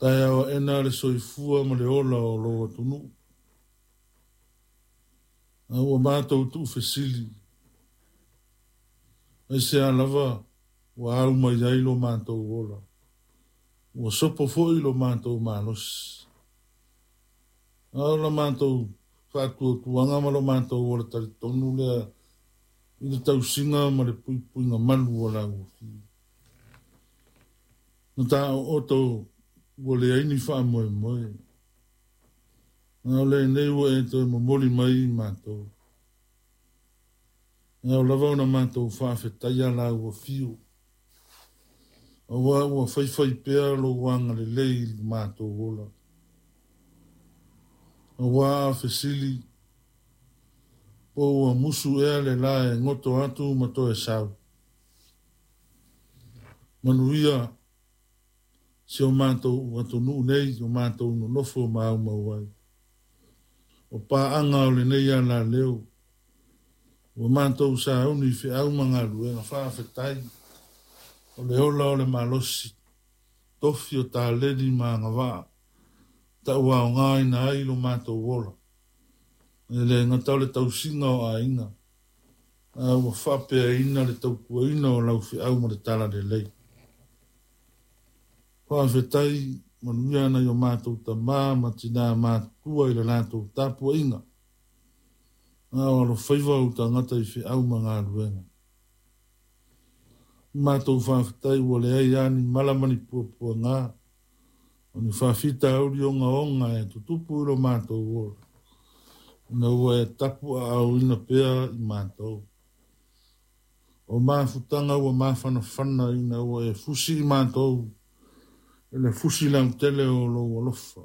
Taeao aʻena le soifua ma le ola o lou atunuu. A ua matou tuufesili, aisea lava ua au mai ai lo matou ola, ua sopo foi lo matou malosi. A o la matou faatuatuaga ma lo matou ola talitonu lea i le tausiga ma le puipuiga malu o lau Afio. Na taooto ua leai ni faamoemoe, a o lenei ua e toe momoli mai i matou. E ao lava ona matou faafetaia lau afio, aua ua faifai pea lou agalelei i le matou ola. Aua a fesili, po ua musu ea le la e goto atu ma toe sau. Manuia si o matou atunuu nei, o matou nonofo ma aumau ai. O paaga o lenei alaleo, ua matou sauni i feau ma galuega faafetai, o le ola o le malosi, tofi o taleni ma agavaa, tauaogaina ai lo matou ola. E le gata o le tausiga o aiga, a ua faapeaina le tautuaina o lau feau ma le talalelei. Faafetai manuia nai o matou tamā ma tinā matutua i le latou tapuaiga, a o alofaiva ou tagata i feau ma galuega. Matou faafetai ua leai lava ni mala ma ni puapuaga, o ni faafitauli ogaoga e tutupu i lo matou ola, ina ua e tapuaaoina pea i matou. O mafutaga ua mafanafana ina ua e fusi i matou i le fusi lautele o lou alofa.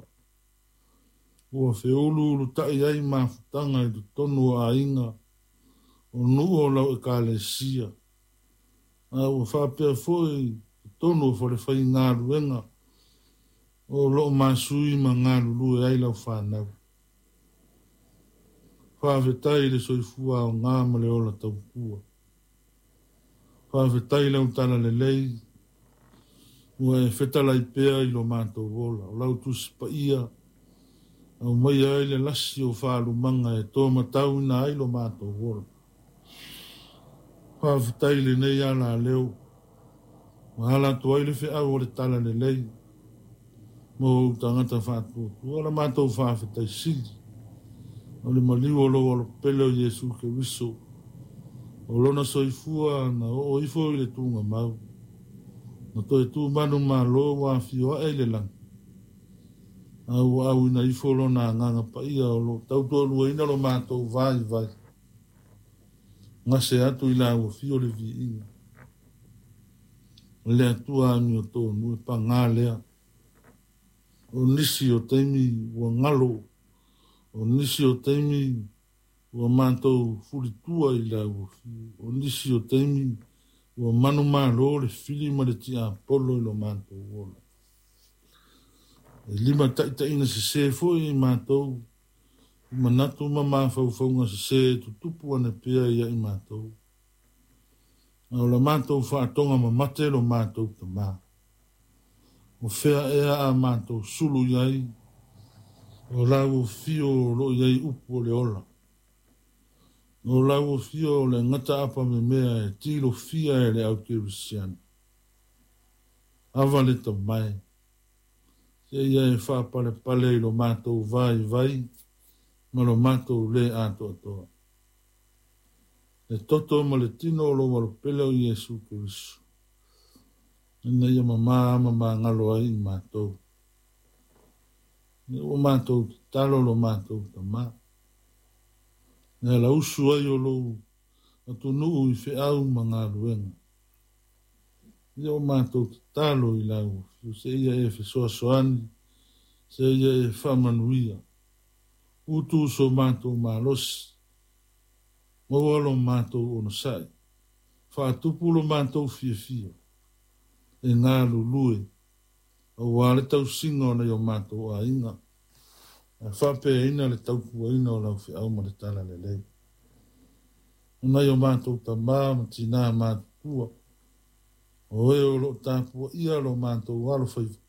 Ua feuluulutai ai mafutaga i totonu o aiga, o nuu o lau ekalesia, a ua faapea foi i totonu o falefaigaluega o loo masui ma galulue ai lau fanau. Faafetai i le soifua aoga ma le ola tautua. Faafetai lau talalelei ua e fetalai pea i lo matou ola. O lau tusi paia aumaia ai le lasi o faalumaga e tomatauina ai lo matou ola. Faafetai i lenei alaleo ua ala atu ai le feau o le talalelei mo ou tagata faatuatua. La matou faafetai sili o le maliu o lou alopele o Iesu Keriso, o lona soifua na oo ifo i le tugamau, na toe tumanu malo ua afio ae i le lagi, a ua auina ifo lona agaga paia o loo tautoaluaina lo matou vaivai. Gase atu i lau afio le viiga. O le Atua amiotonu e pagā lea. O nisi o taimi ua galo, o nisi o taimi ua matou fulitua i lau afio, o nisi o taimi ua manumalo le fili ma le tiapolo i lo matou ola. E limataitaiina sesē foi i matou i manatu ma mafaufauga sesē e tutupu ane pea ia i matou. A o la matou faatoga mamate lo matou tamā. O fea ea a matou sulu i ai, o lau afio o loo i ai upu o le ola. O lau afio o le gata apamemea e tilofia e le au kerisiano. Ava le tamae, seia e faapalepale i lo matou vaivai ma lo matou le atoatoa. Le toto ma le tino o lou alopele o Iesu Keriso, ina ia mamā ma magalo ai i matou. Ia ua matou tatalo lo matou tamā. E alausu ai o lou atunuu i feau ma galuega. Ia ua matou tatalo i lau afio, seia e fesoasoani, seia e faamanuia. Utu so matou malosi, maua lo matou onosai, faatupu lo matou fiafia, e galulue, aua le tausiga o nai o matou aiga, ae faapeaina le tautuaina o lau feau ma le talalelei. O nai o matou tamā ma tinā matutua, o e o loo tapuaia lo matou alofaiva,